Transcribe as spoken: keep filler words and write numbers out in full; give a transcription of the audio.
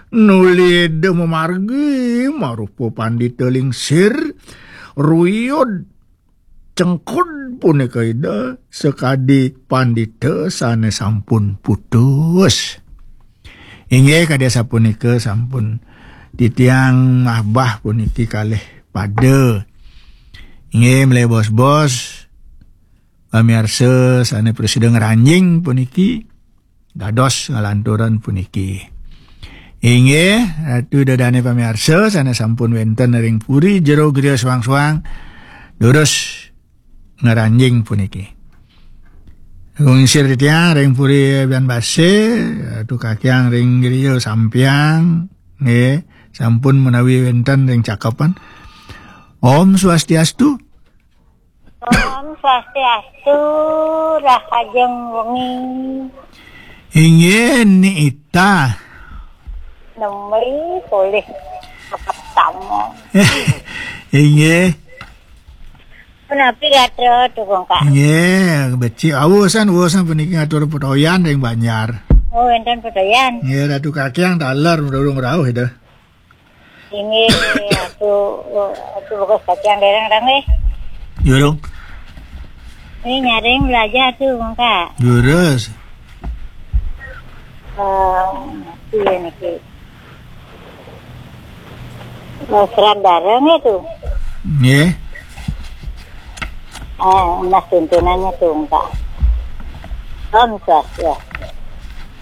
Nuli Ida mamargi marupa pandita lingsir, ruyud cengkud punika Ida sakadi pandita sane sampun putus. Inggih kadi asapunika sampun titiang ngabah puniki kalih pada. Inggih malih bos-bos pamiarsa sane prasida ngranjing puniki dados ngalanturan puniki. Inggih, Ratu Ida Dane pamiarsa sane sampun wenten ring puri jero griya suang-suang durus ngranjing puniki. Ngingsir titiang ring puri Bian Base, Ratu Kakiang ring griya sampiang, nggih, sampun menawi wenten ring cakepan. Om Swastiastu. Om Swastiastu, rahajeng wengi. Inggih, Ni Ita. Nembé polih ketemu. Inggih. Punapi gatra, Tugung Kak? Inggih, becik. Awusan, awusan puniki ngatur petoyan ring banjar. Oh, wenten petoyan. Nggih, Ratu Kakiang taler durung rauh Ida. Inggih, Ratu, Ratu Bagus Kakiang dereng, dereng, nggih. Durung. Ini nyaring belajar, Tugung Kak. Durus. Eh, iya niki. Eh, Serat Dareng itu. Nggih. Eh, Mas tuntunannya, Tugung Kak. Om Swastiastu.